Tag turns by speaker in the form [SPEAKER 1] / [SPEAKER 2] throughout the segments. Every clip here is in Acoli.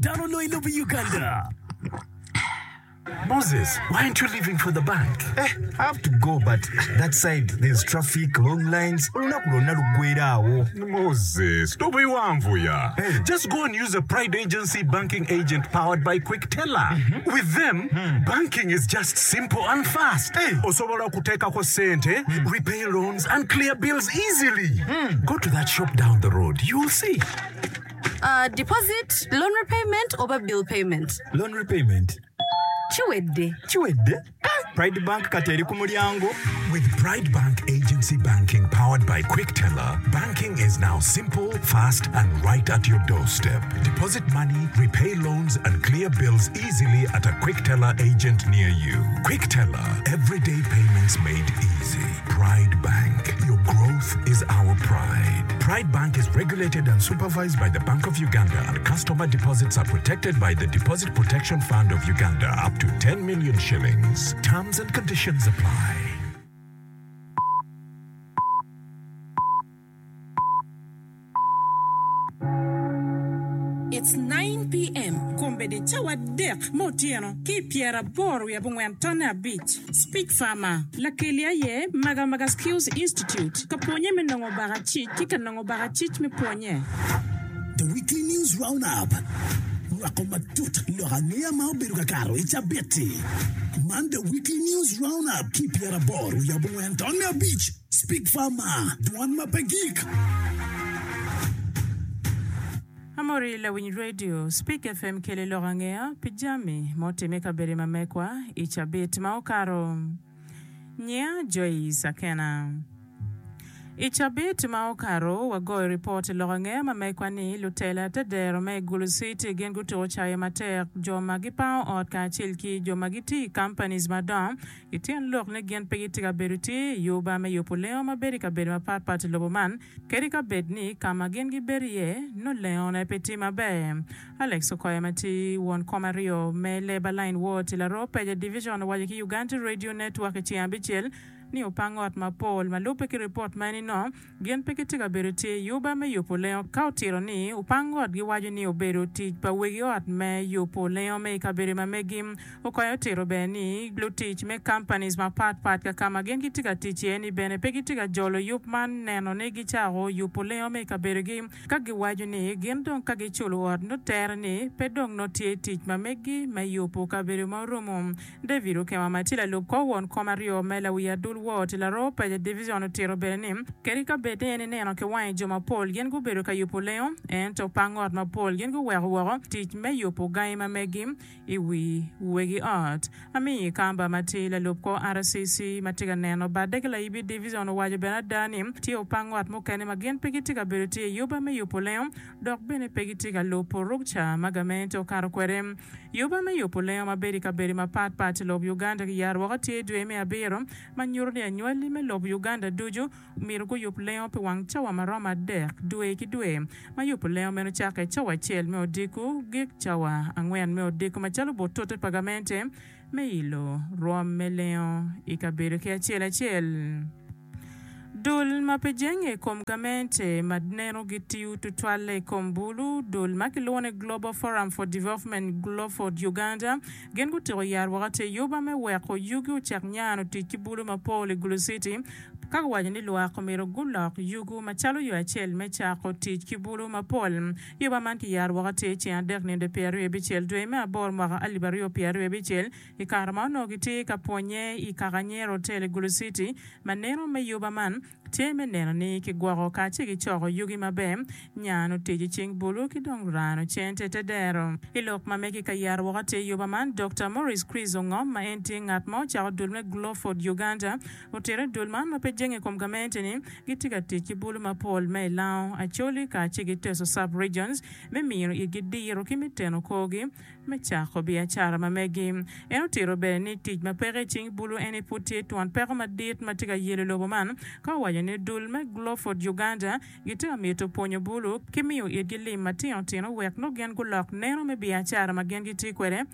[SPEAKER 1] dano loyo i lobo Uganda. Moses, why aren't you leaving for the bank?
[SPEAKER 2] Eh, I have to go but that side there's traffic, long lines, olunaku lwonna luggwera awo.
[SPEAKER 3] Moses, tobiwanvuya.
[SPEAKER 2] Hey.
[SPEAKER 3] Just go and use a Pride Agency banking agent powered by Quickteller. With them, banking is just simple and fast.
[SPEAKER 2] Hey.
[SPEAKER 3] Osobola okuteekako ssente, repay loans and clear bills easily. Go to that shop down the road, you'll see.
[SPEAKER 4] Uh, deposit, loan repayment oba bill payment?
[SPEAKER 2] Loan repayment.
[SPEAKER 4] Kiwedde.
[SPEAKER 2] Kiwedde? Eh, Pride Bank kati eri ku mulyango.
[SPEAKER 3] With Pride Bank Agency Banking powered by Quickteller, banking is now simple, fast, and right at your doorstep. Deposit money, repay loans, and clear bills easily at a Quickteller agent near you. Quickteller, everyday payments made easy. Pride Bank, your growth is our pride. Pride Bank is regulated and supervised by the Bank of Uganda, and customer deposits are protected by the Deposit Protection Fund of Uganda up to 10 million shillings. Terms and conditions apply.
[SPEAKER 5] It's 9PM, Kombeddi cawa adek me otyeno ki i pyeraboro wiye abongwen tonne abic. Speech Farmer, Lakeli aye Maga Maga Skills Institute ka pwonye me nongo bakacic ki ka nongo bakacic me pwonye.
[SPEAKER 1] The Weekly News Roundup, Nywako matut lok angeya ma obedo ka kato i cabit-ti. Man The Weekly News Roundup ki pyeraboro wiye abongwen tonne abic. Speak Farmer, Dwan ma pe gik.
[SPEAKER 5] Amori lawiny radio Speak FM keli lok angeya pi jami ma otime i kabedo ma mekwa i cabit ma okato. Nyinga Joyce Akena. I cabit ma okato wagoyo ripot i lok angeya ma mekwa ni lutela te dero me Gulu City gin gutuko cayo matek jo ma gipango ot kacel ki jo ma gitiyo i companies madongo I tyen lok ni gin pe gitye ka bedo tye i yuba me yubo lengo ma bedo i kabedo mapat pat i lobo man, kadi ka bed ni ka ma gin gibedo iye nongo lengone pe tye maber. Alex Okoya ma tye won kom aryo me Labour Line Ward i Laroo Peja Division owaco ki Uganda Radio Network i ceng abicel ni opang ot mapol ma lubbe ki ripot ma en inongo Gin pe gitye ka bedo tye i yuba me yubo lengo. Ka otito ni opang ot giwaco ni obedo tic pa wegi ot me yubo lengo me i kabedo ma megi. Okoya otito bene ni lutic me companies mapat pat ka kama gin gitye ka tic iye ni bene pe gitye ka jolo yub man neno ni gicako yubo lengo me i kabedogi ka giwaco ni gin dong ka giculo ot nongo tere ni pe dong nongo tye tic ma megi me yubo kabedo ma oromo. David Okema ma tye lalub kor won kom aryo me lawi adul ward i Laroo Paja Division otito bene ni, kadi ka bed ni en ineno ki wange jo mapol gin gubedo ka yubo lengo, ento pang ot mapol gin guweko woko tic me yubo gangi ma megi i wi wegi ot. Amiyi Kamba ma tye lalub kor RCC ma tye ka neno badde ki Laibi Division owaco bene ada ni tye opang ot mukene ma gin pe gitye ka bedo tye i yuba me yubo lengo dok bene pe gitye ka lubo rukca ma gamente okato kwede. Yuba me yubo lengo ma bedo i kabedo mapat pat i lob Uganda kiyaro woko tye dwe me abiro ma nyuto ni anywali me lob Uganda ducu myero guyub lengo pi wang cawa ma romo adek dwe ki dwe ma yubo lengo meno cake cawa acel me odiko gik cawa angwen me odiko macalo but tute pa gamente me ilo rwom me lengo i kabedo ki acel acel. Dul ma pe jenge i kom gamente ma neno gitiyo tutwalle i kom bulu, dul ma kilwongo ni Global Forum for Development, Gloford, Uganda, gin gutiko yat woko te yuba me weko yugi ocak nyano tic ki bulu mapol i Gulu City ka guwaco ni lwak omyero gulok yugu macalo yo acel me cako tic ki bulu mapol. Yuba man kiyaro woko atir ceng adek nino 26 dwe me aboro mwaka 2026 I kare ma onongo gitye ka pwonnye i Kakanyero Hotel i Gulu City, ma neno me yuba man tye me neno ni kigwoko kacel ki coko yugi maber, nyano tic i cing bulu ki dong rano cente te dero. I lok ma megi ka yero woko atir yuba man, Dokta Maurice Chris Ongom ma en tye ngat ma ocako dul me Gloford Uganda otito ni dul man ma pe jenge i kom gamente ni gitye ka tic ki bulu mapol me i Lango, Acholi kacel ki Teso Sub-Regions me miyo itgi diro ki me teno korgi me cako biacara ma megi. En otito bene ni tic ma peke i cing bulu eni pud tye twon peko madit ma tye ka yelo lobo man, ka owaco ni dul me Gloford Uganda gitye ka mito pwonyo bulu ki miyo itgi lim matino tino wek nongo gin gulok neno me biacara ma gin gitye kwede.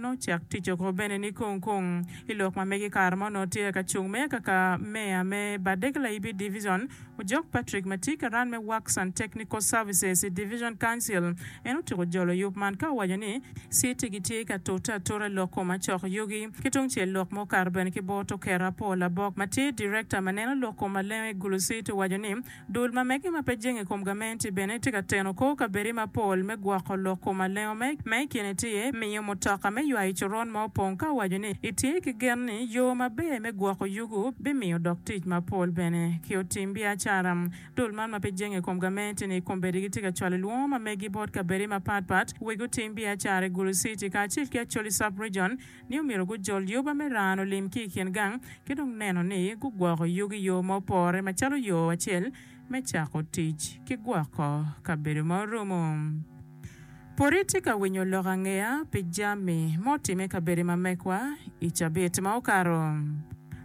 [SPEAKER 5] Nongo cak tic oko bene ni kung kung. I lok ma megi kare ma onongo tye ka cung me kaka meya me Badek Layibi Division, Ojok Patrick ma tye karan me Works and Technical Services i Division Council en otyeko jolo yub man ka owaco ni, Citi gitye ka tute atura i lok kom acok yugi. Ki tung cel lok ma okato bene ki bot Okero Apol Abok ma tye Director ma neno lok kom malengo i Gulu City owaco ni, Dul ma mege ma pe jenge i kom gamenti bene tye ka teno kor kabedi mapol me gwoko lok kom alengo ma i kine tye miyo mutoka me ywayo coron ma opong ka owaco ni etye ki gen ni yo maber me gwoko yugu bimiyo dok tic mapol bene ki otim biacara. Dul man ma pe jenge i kom gamenti ni kombeddi gitye ka cwalo lwongo ma megi bot kabedi mapat pat wek otim biacara i Gulu City kacel ki Acholi Sub-Region ni omyero gujol yoba me rano lim ki i kin gang ki dong neno ni gugwoko yugi i yo ma opore macalo yo acel me cako tic ki gwoko kabedo ma orumo. Pud itye ka winyo lok angeya pi jami ma otimme i kabedo ma mekwa i cabit ma okato?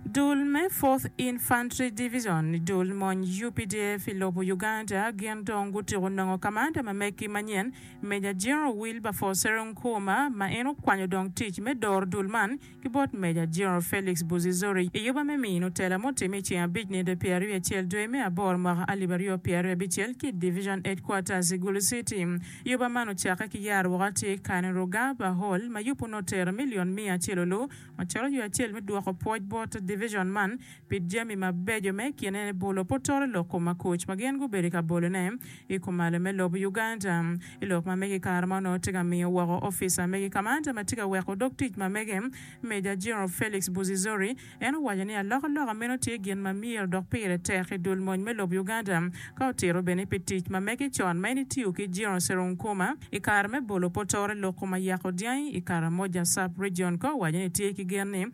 [SPEAKER 5] Dul me Fourth Infantry Division, dul mony UPDF i lobo Uganda gin dong gutyeko nongo kamanda ma megi manyen Major General Wilberforce Serunkuma ma en okwanyo dong tic me doro dul man ki bot Major General Felix Buzizori i yuba me mino tela mutimme i ceng abic nino 21 dwe me aboro mwaka 2026 ki i Division Headquarters i Gulu City. Yuba man ocakke ki yaro woko atir Kainerugaba Hall ma yubu nongo otero milion miya acel olu macalo yo acel me dwoko pwoc bot division man pi jami mabeco ma i kine bolo pe otoro lok kom makuc ma gin gubedo ka bolone i kumalo me lobo Uganda. I lok ma mege i kare ma onongo tye ka miyo woko opica mege kamanda ma tye ka weko dog tic ma mege, Major General Felix Buzizori, en owaco ni alokaloka meno tye gin ma myero dok pire tek i dul mony me lobo Uganda ka otito bene pi tic ma mege con ma en etiyo ki General Serunkuma i kare me bolo potore lok kom ayako dyangi i Karamoja Sub-Region ka owaco ni tye ki gen ni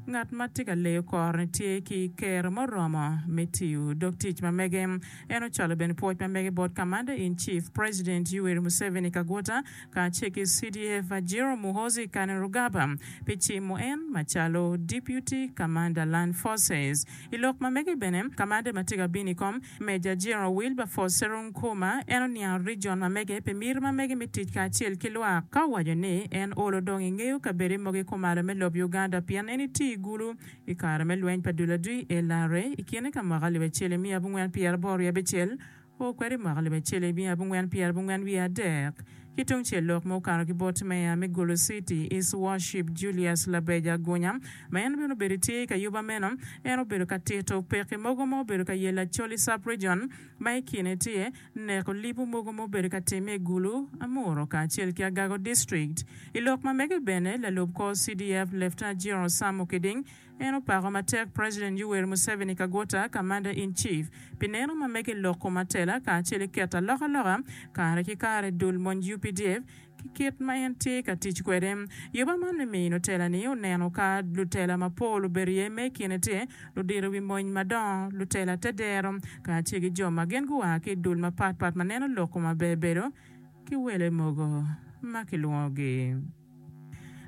[SPEAKER 5] Ngat ma tye ka leyo kore-ni tye ki kero muromo me tiyo dog tic ma mege. En ocwalo bene pwoc ma mege bot Commander in Chief, President Yoweri Museveni Kaguta kacel ki CDF General Muhoozi Kainerugaba pi cimo en macalo Deputy Commander Land Forces. I lok ma mege bene, Commander ma tye ka bino i kom, Major General Wilberforce Serunkuma, en oniango region ma mege pi miti ma mege me tic kacel ki lwak, ka owaco ni en olo dong ingeyo kabede mogo i kumalo me lob Uganda pien en itiyo i Gulu i kare me lweny pa dul adwi, LRA, i kine ka mwaka alip acel imiya abongwen pyeraboro wiye abicel o kwede i mwaka alip acel imiya abongwen pyerabongwen wiye adek. Ki tungcel lok ma okato ki bot Meya me Gulu City, His Worship Julius Labeja Gunya, ma en bene obedo tye ka yuba meno, en obedo ka tito pekki mogo ma obedo ka yelo Acholi Sub-Region ma i kine tye neko libo mogo ma obedo ka timme i Gulu, Amuru kacel ki Agago District. I lok ma mege bene, lalub kor CDF Lieutenant General Sam Okiding En opako matek President Yoweri Museveni Kaguta, Commander in Chief, pi neno ma mege lok kom atela kacel ki keto alokaloka kare ki kare dul mony UPDF ki kit ma en tye ka tic kwede. Yuba man me mino tela ni oneno ka lutela mapol obedo iye me kine tye ludito wi mony madongo, lutela te dero kacel ki jo ma gin gua ki i dul mapat pat ma neno lok kom aber bedo ki wele mogo ma kilwongogi.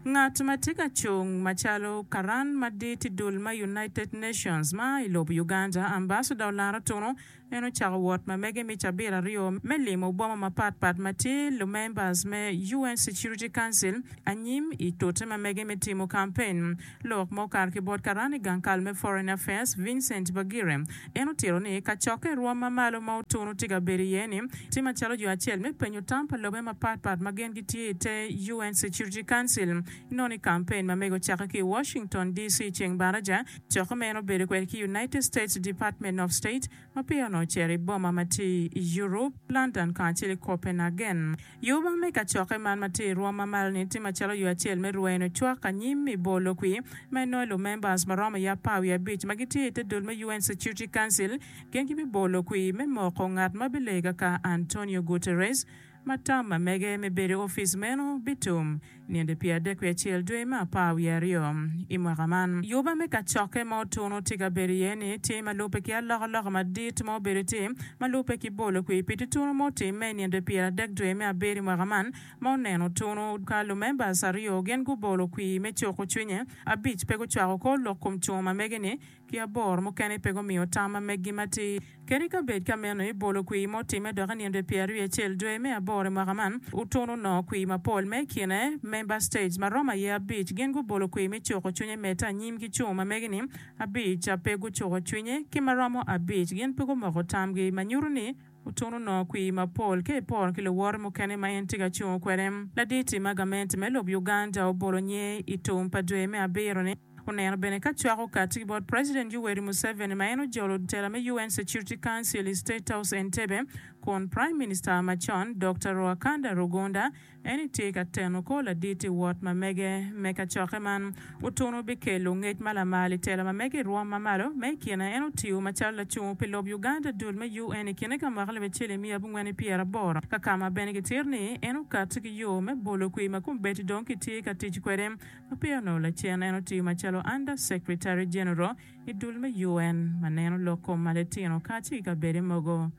[SPEAKER 5] Ngat ma tye ka cung macalo karan madit i dul ma United Nations ma i lobo Uganda, Ambassador Olara Otuno, en ocako wot ma mege me cabit aryo me limo boma mapat pat ma tye lumembers me UN Security Council anyim i tute ma mege me timo kampen. Lok ma okato ki bot karan i gang kal me Foreign Affairs, Vincent Bagire, en otito ni kacokke i rwom ma malo ma Otuno tye ka bedo iye ni tye macalo yo acel me penyo tam pa lobe mapat pat ma gin gitye i te UN Security Council. Inongo ni kampen ma mege ocakke ki i Washington, DC ceng baraja, cokke ma en obedo kwede ki United States Department of State ma peya onongo ocito i boma ma tye i Europe, London kacel ki Copenhagen. Yuba me kacokke man ma tye i rwom ma malo-ni tye macalo yo acel me rweno cwak anyim i bolo kwir ma inongo lumembers ma romo i apar wiye abic ma gitye i te dul me UN Security Council gin gibibolo kwir me moko ngat ma bilega ka Antonio Guterres ma tam ma mege me bedo i opic meno bitum ninde pyeradek wiye acel dwe me apar wiye aryo i mwaka man. Yuba me kacokke ma Otuno tye ka bedo iye ni tye ma lubbe ki alokaloka madit ma obedo tye ma lubbe ki bolo kwir pi tutunu ma otimme i ninde pyeradek dwe me abiro i mwaka man ma oneno Otuno ka lumembers aryo gin gubolo kwir me cuko cwinye, abic pe gucwako kor lok kom cungo ma mege ni ki aboro mukene pe gumiyo tam ma meggi matir. Kadi ka bed ka meno i bolo kwir ma otimme dok i nino dwe pyeraryo acel dwe me aboro i mwaka man, Otuno onongo kwir mapol ma i kine Member States ma romo aye abic gin gubolo kwir me cuko cwinye medde anyim ki cung ma megi-ni abic pe gucuko cwinye ki ma romo abic gin pe gumoko tamgi ma nyuto ni Otuno onongo kwir mapol ka iporo ki luwote mukene ma en tye ka cungo kwede. Laditi ma gamente me lob Uganda obolo nyer i tum pa dwe me abiro-ni. Oneno bene ka cwako kati ki bot President Yoweri Museveni ma en ojolo tela me UN Security Council i State House Entebbe kun Prime Minister macon Dokta Ruhakanda Rugunda en itye ka teno kor ladit i wot ma mege me kacokke man. Otuno bikelo ngec ma lamal i tela ma mege i rwom ma malo ma i kine en otiyo macalo lacungo pi lob Uganda dul me UN i kine ka mwaka alip acel i miya abongwen i pyeraboro ka ka ma bene gitito ni en okati ki yo me bolo kwir ma kombeddi dong kitye ka tic kwede Ma peya onongo lacen, en otiyo macalo Under Secretary General i dul me UN ma neno lok kom ma litino kacel ki kabede mogo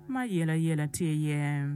[SPEAKER 5] ma ayelayela tye iye.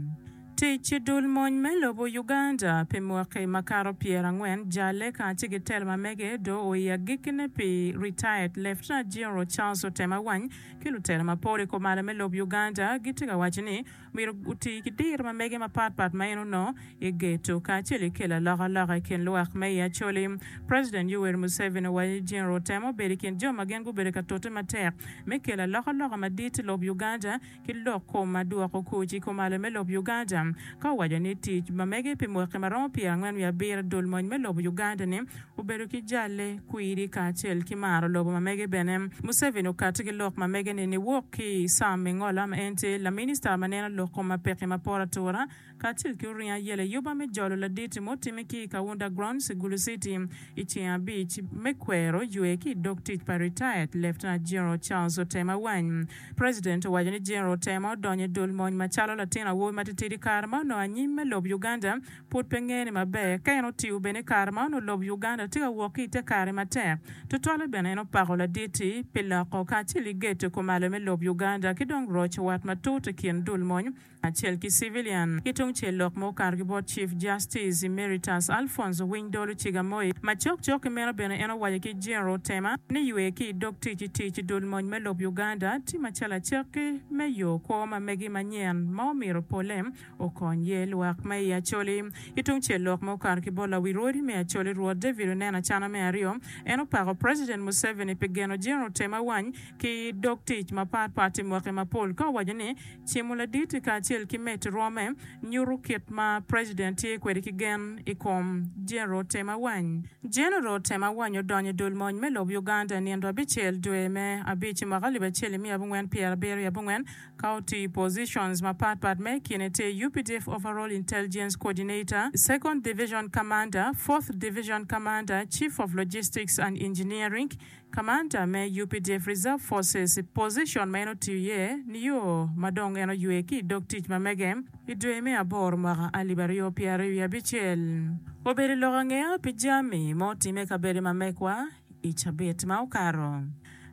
[SPEAKER 5] Tic i dul mony me lobo Uganda pi mwaki makato pyerangwen jalle kacel ki telo ma mege do o i agikkine pi Retired Lieutenant General Charles Otema Awany ki lutelo mapol i kumalo me lob Uganda gitye ka waco ni myero oti ki diro ma mege mapatpat ma en onongo i geto kacel ki kelo alokaloka i kin lwak me i Acholi. President Yoweri Museveni owaco ni General Otema obedo i kin jo ma gin gubedo ka tute matek me kelo alokaloka madit i lob Uganda ki lok kom ma dwoko kuc i kumalo me lob Uganda ka owaco ni tic ma mege pi mwaki ma romo 47 dul mony me lobo Uganda ni obedo ki jalle, kwiri kacel ki maro lobo ma mege bene. Museveni okati ki lok ma mege ni niwok ki i Sam Engola ma en tye laminista ma neno lok kom ma peki ma poto atura kacel ki oringo ayela i yuba me jolo laditi mutime ki i Kaunda Grounds i Gulu City i ceng abic me kwero ywe ki i dog tic pa Retired Lieutenant General Charles Otema Awany. President owaco ni General Otema odonyo i dul mony macalo latin awobi matitidi kare ma onongo anyim me lob Uganda Pud pe ngene maber ka en otiyo bene i kare ma onongo lobo Uganda tye ka wok ki i te kare matek. Tutwalle bene en opako ladit-ti pi loko kacel ki geto kumalo me lob Uganda ki dong roco wat matut i kin dul mony kacel ki civilian. Ki tung cel lok ma okato ki bot Chief Justice Emeritus Alphonse Owiny Dolo Cigamoi ma cok cok ki meno bene en owaco ki General Otema ni ywe ki i dog tic i tic i dul mony me lob Uganda tye macalo acakki me yo kwo ma megi manyen ma omito pole Okony ye lwak ma i Acholi. Ki tung cel lok ma okato ki bot lawi rwodi me Acholi Rwot David Onen Acana me aryo, en opako President Museveni pi geno General Otema Awany ki dog tic mapat pat i mwaki mapol ka owaco ni cimo ladit-ti kacel ki medo rwome nyuto kit ma President tye kwede ki gen i kom General Otema Awany. General Otema Awany odonyo i dul mony me lob Uganda i nindo abicel dwe me abic i mwaka alip acel i miya abongwen pyerabiro i abongwen Ka otiyo i positions mapat pat ma i kine tye UPDF Overall Intelligence Coordinator, Second Division Commander, Fourth Division Commander, Chief of Logistics and Engineering, Commander me UPDF Reserve Forces, position ma en otiyo iye nio ma dong en oywe ki i dog tic ma mege i dwe me aboro mwaka 2026. Obedo lok angeya pi jami ma otime i kabedo ma mekwa I cabit ma okato,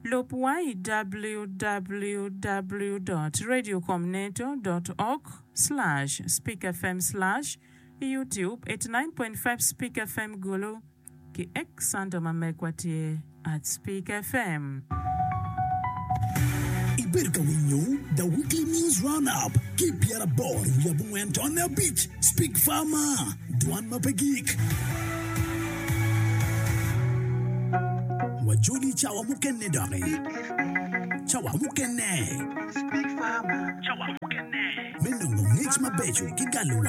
[SPEAKER 5] lub wa i www dot radiocomneto dot org slash speakfm slash i YouTube 89.5 Speak FM Gulu ki X handle ma megwa tye at Speak FM.
[SPEAKER 1] Ibedo ka winyo The Weekly News Roundup ki i pyeraboro wiye abongwen tonne abic Speak Farmer, Dwan ma pe gik. Wajoli i cawa mukene doki. Cawa mukene. Me nongo ngec mabeco ki galowang.